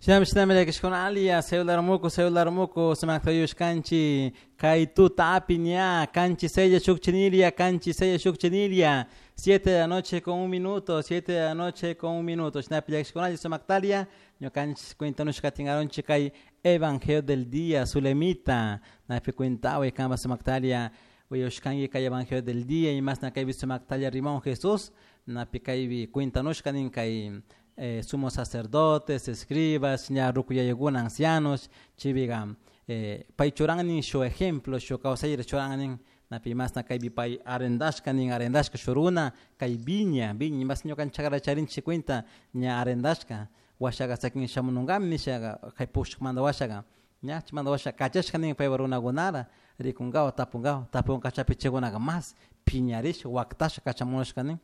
Shinami shinami llakishkuna celular muku celular muku sumakta yuyashkanchik kay tutapi ña kanchis sella shukchinilia kanchis sella shukchinilia 7 de la noche con un minuto 7 de la noche con un minuto. Shinapi llakishkunalla sumaktalia ñukanchik cuentanushka katingarunchik kay evangelio del día Zulemita. Napi cuentaway kanpa sumaktalia uyashkanki kay evangelio del día y masna kaypi sumaktalia rimon Jesús. Napi kaypi cuentanushka nin kay sumos sacerdotes, escribas, ña rukuyayakuna ancianos, chaypiqa pay churan shu ejemplo, shu kawsayta churan nin napi masna kaypi pay arrendashka nin arrendashka shuk runa kay viña, viña mas ñukanchik chakrata charinchik cuenta ña arrendashka washaqa sakin shamununkami nishaqa kay pushkmanta washaqa ña chaymanta washa kachashka nin paypa runakunata rikunkawa tapunkawa tapun kachapi chaykunaka mas piñarisha waktasha kachamunushka nin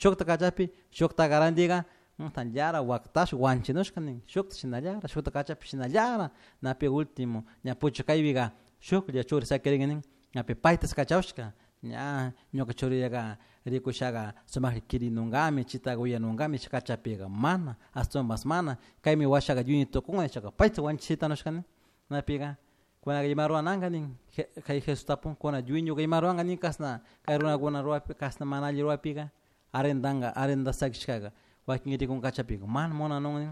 shukta kachapi shukta randiqa tanllara waktash wanchinushka nin shukta shinallara shukta kachapi shinallara napi último ña puchu kaypiqa shuklla churi sakirin nin ñapi paytas kachawshka ña ñuka churillaqa rikushaqa sumakta kirinunkami chitaqa uyanunkami kachapiqa mana ashtawanpas mana kaymi washaqa yuyay tukun nishaqa payta wanchishitanushka nin napiqa kunaka ima rurananka nin kay Jesús tapun kuna yuyñuka ima ruranka nin kashna kay runakuna ruwapi kashna mana alli ruwapika arrendanka arrendasakishkaka wakin rikun kachapika mana munanun nin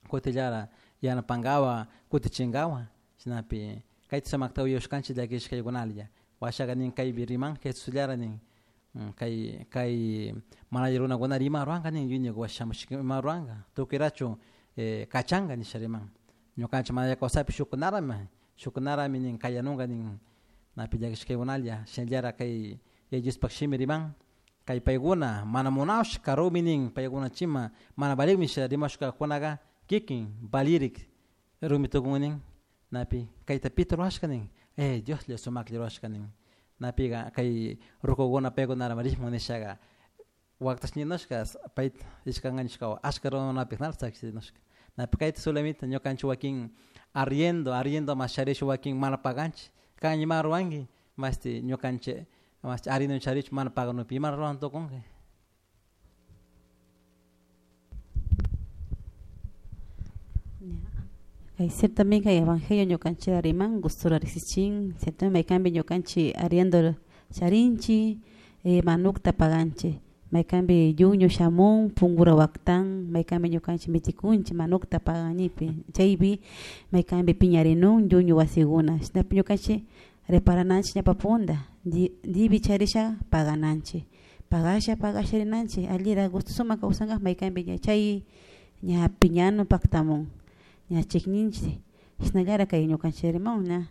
kutillara yanapankawa kutichinkawa shinapi kayta sumakta uyashkanchik llakishkaykunalla washaqa nin kaypi riman Jesusllara nin kay kay mana alli runakuna ima ruranka nin yuyñuka washa shamushka ima ruranka tukuyrachu kachanka nisha riman ñukanchik mana alli kawsaypi shukkunarami shukkunarami nin kayanunka nin napi llakishkaykunalla shinallara kay Yaya Diospuk shimi riman kay paykuna mana munashka rumi nin paykuna chima mana valikmi rimashkakunaka kikin valirik rumi tukun nin napi kayta pita rurashka nin Dioslla sumaklla rurashka nin napiqa kay rukukuna paykunara rishmun nishaqa waktash ninushka payta rishkanka nishka ashka runakunapik nala sakinushka napi kayta solamente ñukanchik wakin arriendo arriendo mas charish wakin mana paganchik kan ima ruranki mashti ñukanchik mashti arriendo charish mana paganupi ima ruran tukunki. Kay ciertamente kay evangelio ñukanchik riman gustura riksichin ciertamente maykanpi ñukanchik arriendo charinchik manukta paganchik maykanpi yuñu shamun punkura waktan maykanpi ñukanchik mitikunchik manukta paganipi chaypi maykanpi piñarinun yuñu wasikuna shinapi ñukanchik reparananchik ñawpa punda dibi charisha pagananchik pagasha pagasha rinanchik allira gusto sumak kawsanka maykanpi ña chay ña piñanu paktamun ña chikninchik shinallara kay ñukanchik rimun ña